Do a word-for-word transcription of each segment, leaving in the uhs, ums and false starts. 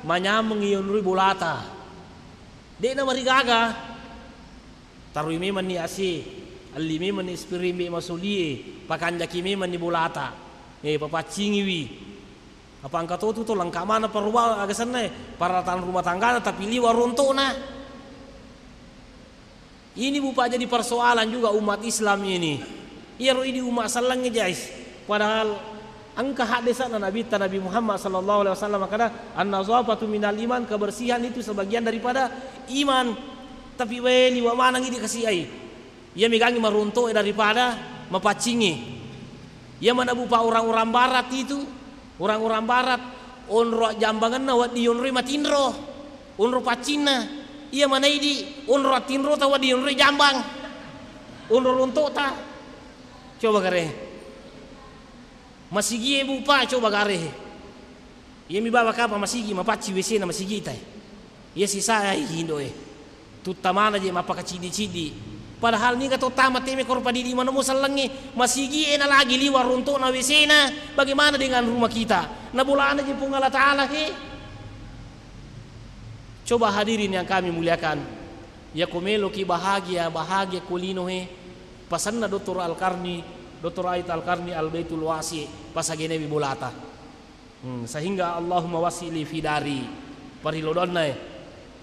Manyameng iyonroi bolata. De'na marigaga. Taroi memenni A C, elli memenni spiring be masolie, pakanjaki memenni bolata. Eh, papaccingiwi. Apa engka totu to lengka mana perubah aga senna, eh, peralatan rumah tanggana, tapi liwa ronto'na. Ini, Bu, Pak, jadi persoalan juga umat Islam ini. Iyaro idi umat sellengnge, guys. Padahal engka haddesa'na Nabitta, Nabi Muhammad sallallahu alaihi wasallam, makkeda, "An-nazafatu minal iman," kebersihan itu sebagian daripada iman. Tapi wae liwa maneng idi kasi ai. Iya megangi maruntu daripada mapaccingi. Iya mana, Bu, Pak, orang-orang barat itu, orang-orang barat, onro jambangenna wedding yonroi matinro, onro paccinna. Iya mana idi, onro tinrota wedding yonroi jambang, onro lontota. Coba gare. Masigie, Bu, Pak, coba gare. Iya mi baba kapa masigi, mapacci W C-na masigi tai. Iya sisai indo e. Tutta mana je mappakaciddi-ciddi. Padahal niga to tama teme koro padidi manomo sellengnge, masigi e na lagi liwa ronto'na W C-na, bagaimana dengan rumah kita? Na bolana je Puang Allah Ta'ala he. Coba hadirin yang kami muliakan, ya ko meloki bahagia, bahagia ko lino he, pasanna Doktor Al-Karni, Doktor Ait Al-Karni Al-Baitul Wasi, pasagenewi bolata. Hmm, sehingga Allahumma wasi' li fi dari. Parilodonna, eh.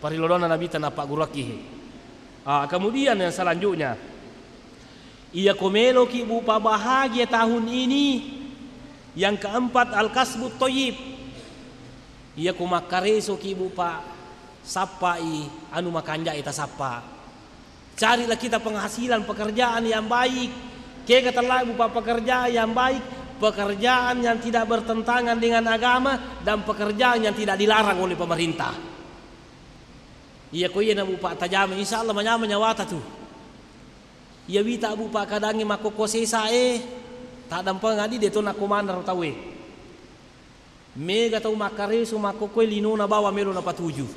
Parilodonna Nabitta nappagguruakki. Ah, kemudian yang selanjutnya, iya ko meloki, Bu, Pak, bahagia tahun ini, yang keempat, al-kasbu thayyib. Iya ko makkaresoki, Bu, Pak, sappai anu makanja'e tasappa. Carilah kita penghasilan, pekerjaan yang baik. Kega tellai, Bu, Pak, pekerjaan yang baik, pekerjaan yang tidak bertentangan dengan agama, dan pekerjaan yang tidak dilarang oleh pemerintah. Iya ko iyana, Bu, Pak, tajama, insya Allah manyama nyawata tu. Iya wita, Bu, Pak, kadangnge makkokko sesa e, taddampengeng adi de to nakko manaro tau e. Mega tau makkareso makkokkoe linona bawang melo napatuju.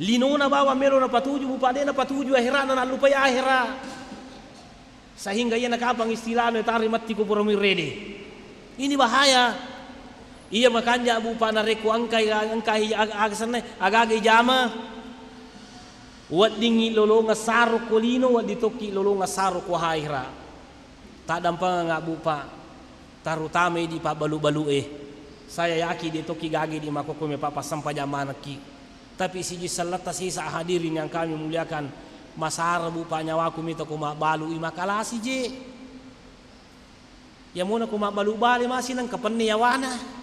Linona bawang melo napatuju, Bu, Pak, de napatuju ahera'na, nallupai ahera. Sehingga iyana kapang istilahna tari matti ko pura muirede. Ini bahaya. Iya makanja, Bu, Pak, narekko engkai, engkai ag-, aga senna, aga-aga ijama, weddingngi lolongeng saro ko lino, wedding tokki lolongeng saro ko ahera. Taddampengeng, Bu, Pak, terutama idi pabbalu-balu e. Saya yakin de tokki gage di makkokkoe, me pa-, passempajang manekki. Tapi siji selletta sesa, hadirin yang kami muliakan, masara, Bu, Pak, nyawaku mita ko mabbalu i makalasi je. Iya mona ko mabbalu bale masi nengka penne yawana.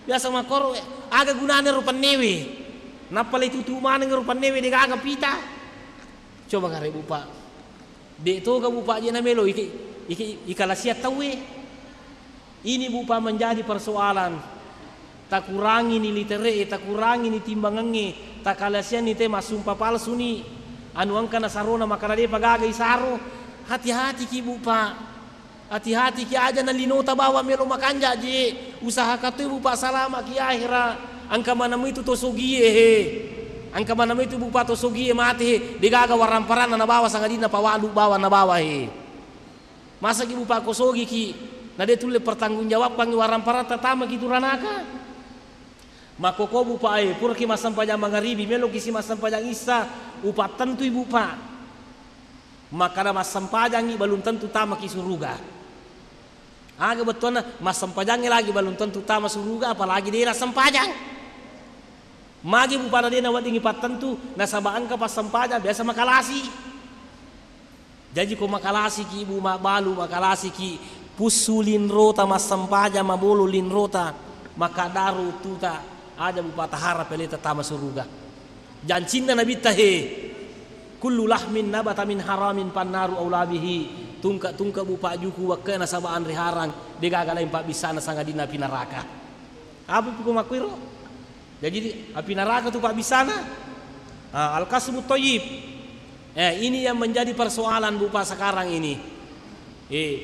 Biasa makkoro, aga gunana ro pennewe? Nappa le tutu maneng ro pennewe de gaga pita. Coba gare, Bu, Pak. De toga, Bu, Pak, je namelo ike, ike, ikalasiang tauwe. Ini, Bu, Pak, menjadi persoalan. Takurangini litere'e, takurangini timbangengnge, takalasianni te massumpa palsuni. Anu engka nasarona makkada depa gaga isaro. Hati-hatiki, Bu, Pak. Hati-hatiki, aja na linota bawang melo makanja je. Usahakan toi, Bu, Pak, salamaki ahera. Engka maneng itu to sogie he. Engka maneng itu, Bu, Pak, to sogie mate he. De gaga waramparanna nabawa sangadinna pawalu bawang nabawa he. Masaki, Bu, Pak, ko sogiki, na de tulle pertanggungjawabkangngi waramparatta tamaki tu ranaka. Makkoko, Bu, Pak, e, puraki massempajang mangaribi, meloki si massempajang issa, upattentui, Bu, Pak. Makkada massempajangngi belum tentu tamaki suruga. Aga bettuanna massempajangngi lagi belum tentu tama suruga, apalagi de nassempajang. Magi, Bu, pada de naweddingngi pattentu, nasaba engka passempajang biasa makalasi. Jaji ko makalasiki, Bu, mabbalu, makalasiki, pussu linrota massempajang, mabolo linrota, makaddaru uttuta, aja, Bu, Pak, tahara peleta tama suruga. Jancinna Nabitta he, "Kullu lahmin nabata min haramin fannaru aula bihi." Tungke-tungke, Bu, Pak, juku wekke nasaba anre harang, de gaga lain pabbissana sangadinna api naraka. Apa pi ko makkuiro? Jadi, api naraka tu pabbissana. Ah, al-kasbu thayyib. Eh, ini yang menjadi persoalan, Bu, Pak, sekarang ini. Eh,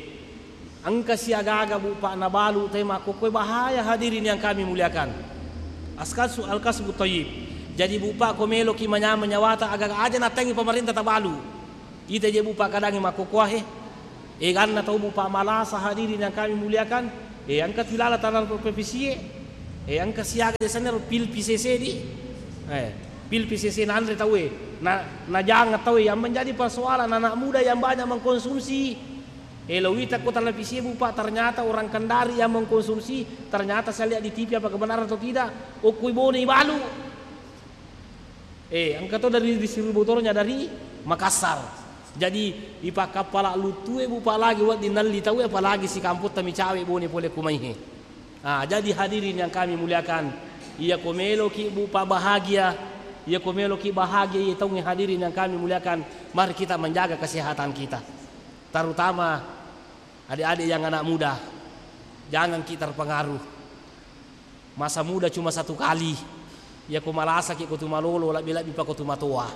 engka si aga-aga, Bu, Pak, nabalu te makkokkoe, bahaya, hadirin yang kami muliakan. Askasu-, al-kasbu thayyib. Jadi, Bu, Pak, ko meloki manyameng nyawata, aga-aga aja natengi pemerintah tabalu. Ita je, Bu, Pak, kadangngi makkokkoe he. Eganna tau, Bu, Pak, malasa, hadirin yang kami muliakan. Eh, engka tilala tanah provinsi e. Eh, engka siaga biasanya ro pil P C C di. Eh, pil P C C nanre tauwe. Na, najang tauwe yang menjadi persoalan anak muda yang banyak mengkonsumsi. Eh, lo wita ko televisi, Bu, Pak, ternyata orang Kendari yang mengkonsumsi, ternyata saya lihat di T V, apa kebenaran atau tidak? Okkui bone ibalu. Eh, engka to dari distributornya dari Makassar. Jadi, ipakkappala luttue, Bu, Pak, lagi wedding nalli tauwe, apalagi si kampotta micawe bone pole kumaihe. Ah, jadi hadirin yang kami muliakan, iya ko meloki, Bu, Pak, bahagia, iya ko meloki bahagia, iya taungnge, hadirin yang kami muliakan, mari kita menjaga kesehatan kita. Terutama adik-adik yang anak muda, jangan ki terpengaruh. Masa muda cuma satu kali. Iya ko malasaki ko tu malolo, lebbi-lebbi pa ko tu matoa.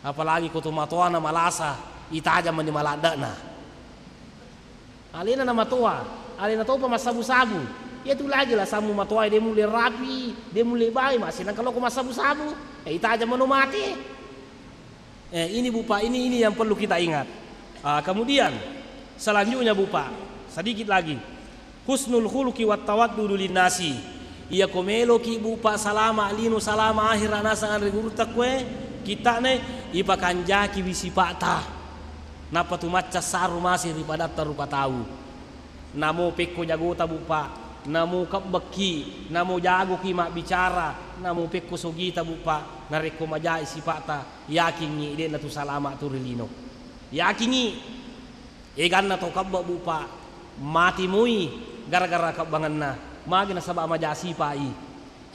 Apalagi ko tu matoa na malasa, itajang mani maladdana. Alena na matoa, alena topa massabu-sabu. Iya tu lagi la sammu matoa, de mulle rapi, de mulle bae, masih nang kalau ko massabu-sabu, eh, itajang mano mate. Eh, ini, Bu, Pak, ini, ini yang perlu kita ingat. Ah, kemudian selanjutnya, Bu, Pak, sedikit lagi. Husnul khuluqi wat tawaddudu linnasi. Iya ko meloki, Bu, Pak, salama lino, salama akhira nasang anre gurutta kue, kittane, ipakanjaki wi sipata. Nappa tu macca saru masih ri padatta rupa tau. Namo pekko jagota, Bu, Pak, namo kebbekki, namo jagoki mabbicara, namo pekko sogita, Bu, Pak, narekko majai sipata, yakingngi de'na tu salama tu ri lino. Yakingngi, eganna tau kebbek, Bu, Pak, mati moi gara-gara kebbangenna. Magi nasaba maja sipai.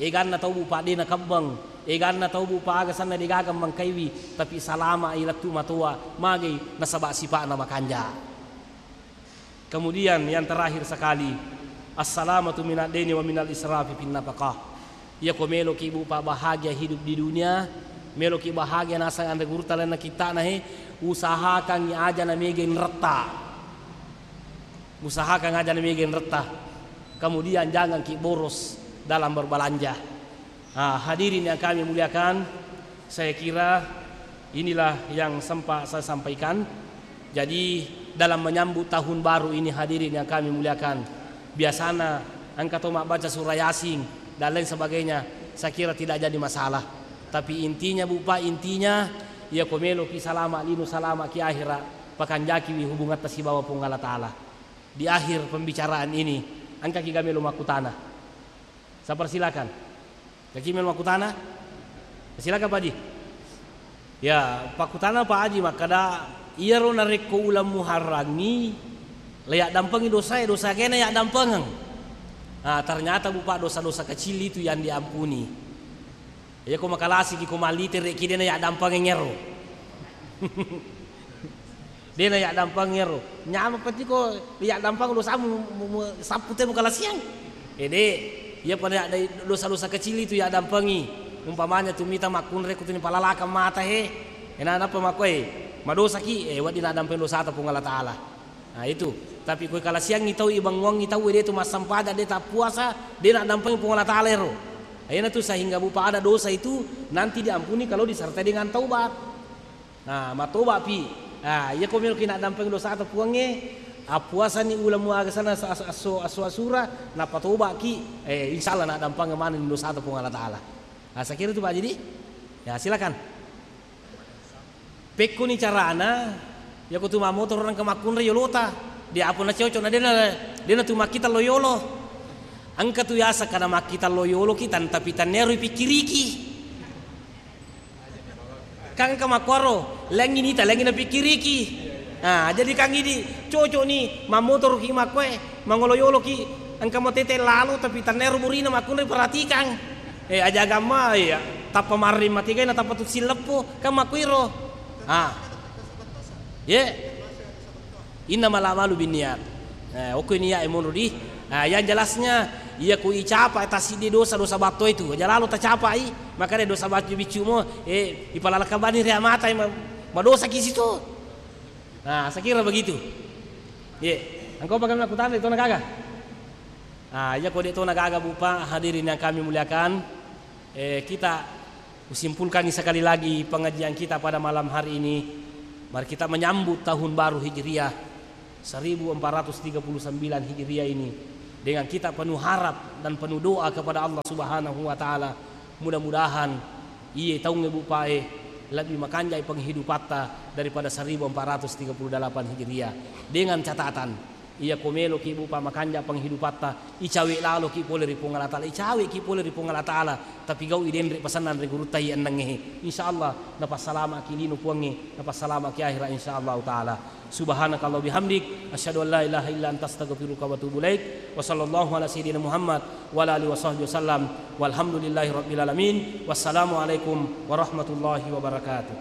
Eganna tau, Bu, Pak, de nakebbeng. Eganna tau, Bu, Pak, aga sanna degaga mengkaiwi, tapi salama i lettu matoa. Magi nasaba sipa'na makanja. Kemudian yang terakhir sekali, assalamatu minad daini wa minal israfi fin nafaqah. Iya ko meloki, Bu, Pak, bahagia hidup di dunia, meloki bahagia nasang anre gurutta lainna kittana he, usahakangngi aja na mega inretta. Usahakan aja na mega inretta. Kemudian jangan ki boros dalam berbelanja. Ah, hadirin yang kami muliakan, saya kira inilah yang sempat saya sampaikan. Jadi, dalam menyambut tahun baru ini, hadirin yang kami muliakan, biasana engka to mabbaca surah Yasin dan lain sebagainya, saya kira tidak jadi masalah. Tapi intinya, Bu, Pak, intinya, iya ko meloki salama lino, salama ki akhira, pakanjakiwi hubungatta sibawa Puang Allah Ta'ala. Di akhir pembicaraan ini, engka ki ga melo makkutana? Sabar, silakan. Kaki melo makkutana? Silakan, Pak Haji. Ya, pakkutana Pak Haji makkada, iyaro narekko uleng Muharrangngi, le yaddampengi dosae, dosa kena yaddampengeng. Ah, ternyata, Bu, Pak, dosa-dosa kecil itu yang diampuni. Iya ko makalasiki, ko mallitereki, dena yaddampengeng ero. Dena yaddampang ero. Nyameng peti ko yaddampang dosamu, mu, mu, sappu te mukalasiang. Ede, iya pada ada dosa-dosa kecil itu yaddampangi. Umpamanya tu mita makkunrai ko tuni palalakang mata he. Ena napa makkoi, madosaki, eh, wedding naddampeng dosata Puang Allah Ta'ala. Nah, itu. Tapi ko kalasiangi tau, ibanguangi tau, de tu massampaja, de tappuasa, de naddampangi Puang Allah Ta'ala ero. Ena tu sehingga, Bu, Pak, ada dosa itu nanti diampuni kalau disertai dengan taubat. Nah, matoba pi. Nah, iya ko melo ki naddampeng dosata Puangnge, appuasani uleng muaga sana as-, as-, asso-, asso-, asura, napatoba ki, eh, insya Allah naddampeng maneng dosata Puang Allah Ta'ala. Nah, saya kira itu, Pak Haji. Ya, silakan. Pekkoni carana, yako tu mammotoro engka makkunrai yolota. Dia apa na cocok na dena, dena tu makkita lo yolo. Engka tu yaseng kada makkita lo yolo ki tan, tapi tannero ipikkiriki. Kan engka makkuaro, lengngi nita, lengngi napikkiriki. Nah, jadi kan idi cocok ni, mammotoro ki makkoe, mangolo yolo ki, engka mo tete lalo, tapi tannero burina makkunrai perhatikan. Eh, aja agamma, iya, tappa marri matigai na tappa tu silleppo, kan makkuiro. Ah. Ye. Innamal a'malu binniyat. Eh, okko niat e monro di. Ah, yang jelasnya, iya ku icapa tasiddi dosa, dosa batto itu. Aja lalo tacapai, makanya dosa batto biccu mo, eh, ipalalakabani ria mata, ma-, madosa ki situ. Nah, saya kira begitu. Ye. Engkau pakai melakukan itu nak gaga? Ah, iya ko de' to na gaga, Bu, Pak, hadirin yang kami muliakan, eh, kita usimpulkan sekali lagi pengajian kita pada malam hari ini. Mari kita menyambut tahun baru Hijriah seribu empat ratus tiga puluh sembilan Hijriah ini. Dengan kita penuh harap dan penuh doa kepada Allah Subhanahu wa Ta'ala, mudah-mudahan iye taungnge bupae lebih makanjai penghidupatta daripada seribu empat ratus tiga puluh delapan Hijriah. Dengan catatan, iya ko meloki bupa makanja penghidupatta, icawe laloki pole ri Puang Allah Ta'ala, icawe ki pole ri Puang Allah Ta'ala, tapi gau idenre pesanan ri gurutta iye ennengnge. Insya Allah napassalamaki lino Puangnge, napassalamaki akhirat insya Allah Ta'ala. Subhanakallahumma bihamdik, asyhadu an la ilaha illa anta astaghfiruka wa atubu ilaik. Wa sallallahu ala sayyidina Muhammad wa ala alihi wa sahbihi wasallam. Walhamdulillahi rabbil alamin. Wassalamualaikum warahmatullahi wabarakatuh.